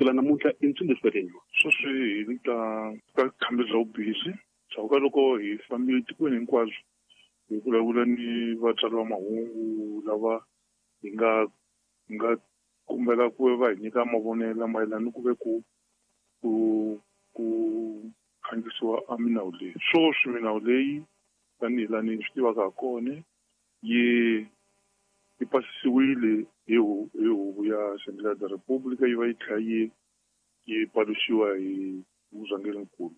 Kusukela namuntlha i ntsumbu leswi Sweswi hi le ka khambi bya vubisi ndzhaku ka loko hi fambile tikweni hinkwabyo hi vulavula ni vatsari va mahungu lava hi nga kombela ku va hi nyika mavonelo mayelana ni ku ve ku khandziyisiwa a minawu leyi. Sweswi minawu leyi tanihi laha ni swi tivaka ha kona yi pasisiwile hi huvo ya Assembleia da República, yi va yi tlhela yi paluxiwa hi murhangerinkulu.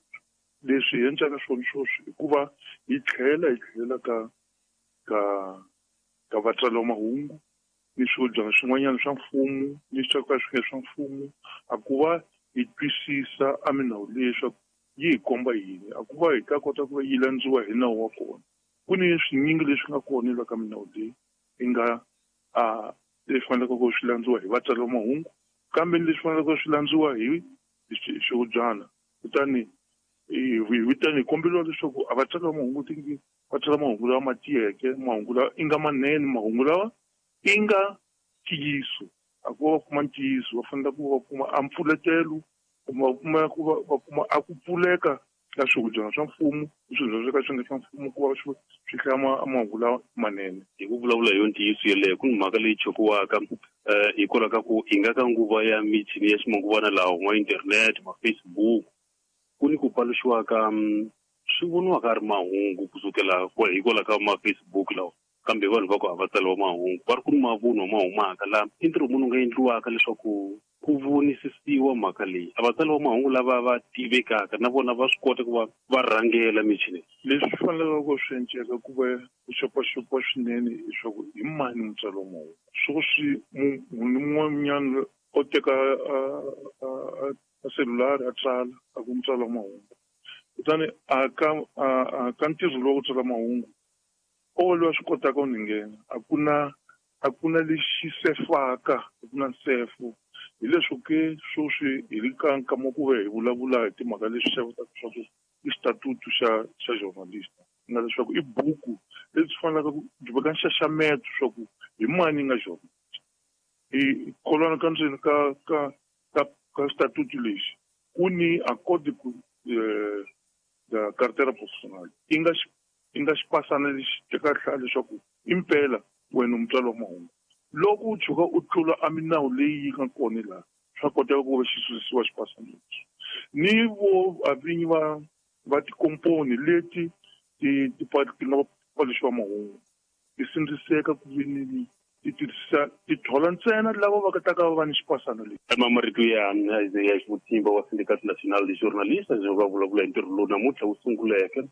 Leswi hi endlaka swona sweswi i ku va hi tlhela hi tlhelela ka vatsari va mahungu ni swihodyana swin'wanyana swa mfumo ni swa ka swi nga swa mfumo, a ku va hi twisisa a minawu leyi leswaku yi hi komba yini, a ku va hi ta kota ku va yi landziwa hi nawu wa kona. Ku ni swinyingi leswi nga kona la ka minawu leyi yi nga a leswi faneleke ku swi landziwa hi vatsari va mahungu, kambe ni leswi faneleke swi landziwa hi swihodyana. Kutani hi komberiwa leswaku a vatsari va mahungu tingi va tsala mahungu lawa ma tiyeke, mahungu lawa i nga manene, mahungu lawa i nga ntiyiso. A ku va va kuma ntiyiso, va fanele ku va kuma a mpfuletelo kumbe va kuma ku va kuma a ku pfuleka ka swihodyana swa mfumo ni swihodyana swo ka swi nga swa mfumo ku va swi hlaya mahungu lawa manene. Hi ku vulavula hi yo ntiyiso yeleyo, ku ni mhaka leyi chokiwaka hikwalaho ka ku hi nga ka nguva ya michini ya ximanguvana lawa ma internet, ma Facebook, ku ni ku paluxiwa ka swi voniwaka ri mahungu kusukela hikwalaho ka ma Facebook lawa, kambe vanhu va ku a va tsariwa mahungu, va ri ku ni mavunwa ma humaka laha i ntirho munhu nga endliwaka leswaku ku vonisisiwa mhaka leyi. A vatsari va mahungu lava va tivekaka na vona va swi kota ku va va rhangela michini. Leswi swi faneleke ku swi enceka ku va ku xopaxopiwa swinene leswaku hi mani mutsari wa mahungu. Sweswi munhu un'wanyana o teka a selulari a tsala a ku mutsari wa mahungu, kutani a ka ntirho lowu wa ku tsala mahungu o loyi a swi kotaka ku nghena, a ku na lexi sefaka, a ku na nsefo. Hi leswo ke sweswi hi le ka nkama ku ve hi vulavula hi timhaka leswi xavutaka swa ku i xitatutu xa journalist, nga leswaku i buku lebyi faneleke ku byi veka nxaxameto swa ku hi mani nga journalist. Hi kholwana ka ndzeni ka xitatutu lexi ku ni accord ku carteira profissional i nga xipasana lexi tekaka leswaku impela wena mutswari wa mahungu. Loko u tshuka u tlula a minawu leyi yi nga kona laha, swa koteka ku va xi susiwa xipasana lexi. Ni vo vinyi va tikomponi leti ti nga paluxiwa mahungu ti sindziseka ku vini ti tirhisa ti thola ntsena lava va ta ka va ni xipasana lexi. Marito ya Isaiah Ximutimba wa Syndicat National de Journalistes va vulavula hi ntirho lowu namuntlha wu sunguleke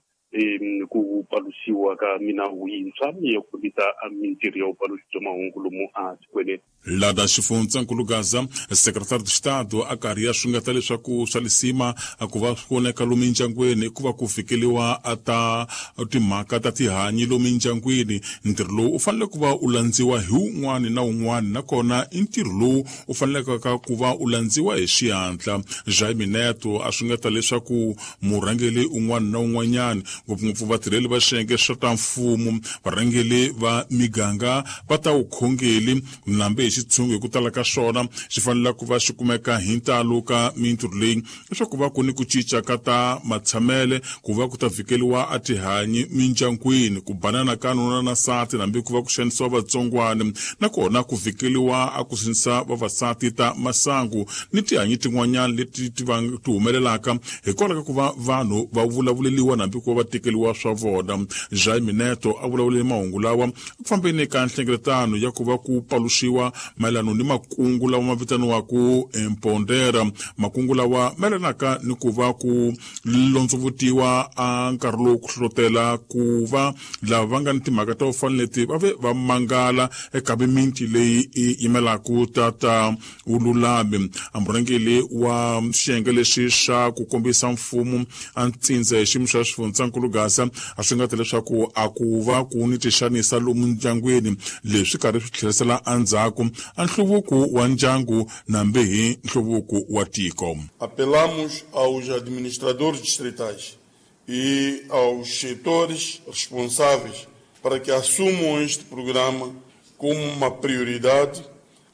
ku paluxiwa ka minawu yintshwa ya ku fambisa mintirho ya vupaluxi bya mahungu lomu a tikweni. Lada xifundzankulu Gaza, secretário de Estado a karhi ya xungeta leswaku swa lisima a ku va swi voneka lomu mindyangwini ku va ku fikeliwa a ta timhaka ta tihanyi lomu mindyangwini. Ntirho lowu u fanele ku va u landziwa hi wun'wani na wun'wani, nakona i ntirho lowu u faneleke ku va u landziwa hi xihatla. Jaime Neto a xungeta leswaku murhangeri un'wana na un'wanyana, ngopfungopfu vatirheli va xiyenge swa ta mfumo, varhangeri va miganga va ta vukhongeri nambe hi xitshungu hi ku tala ka swona xi fanele ku va xi kumeka hi ntalo ka mintirho leyi, leswaku va ku ni ku cinca ka ta matshamele ku va ku ta vhikeliwa a tihanyi mindyangwini, ku banana ka nuna na nsati nambe ku va ku xanisiwa vatsongwana, nakona ku vhikeliwa a ku sindzisa vavasati ta masangu ni tihanyi tin'wanyana leti ti humelelaka hikwalaho ka ku va vanhu va vulavuleliwa nambe ku va va tekeliwa swa vona. Jaime Neto a vulavulele mahungu lawa ku fambeni ka nhlengeletano ya ku va ku paluxiwa mayelano ni makungu lawa ma vitaniwaka Empondera, makungu lawa mayelanaka ni ku va ku londzovutiwa a nkarhi lowu ku hlohlotela ku va lava va nga ni timhaka ta ku fana leti va ve va mangala eka miminti leyi yi yimelaka tata vululami. A murhangeri wa xiyenge lexi xa ku kombisa mfumo a ntsindza hi xiyimo xa xifundzankulu Gaza a swi nga ta leswaku a ku va ku ni tixanisa lomu ndyangwini, leswi karhi swi tlherisela endzhaku a nhluvuko wa ndyangu nambe hi nhluvuko wa tiko. Apelamos aos administradores distritais e aos setores responsáveis para que assumam este programa como uma prioridade,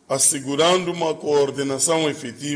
assegurando uma coordenação efetiva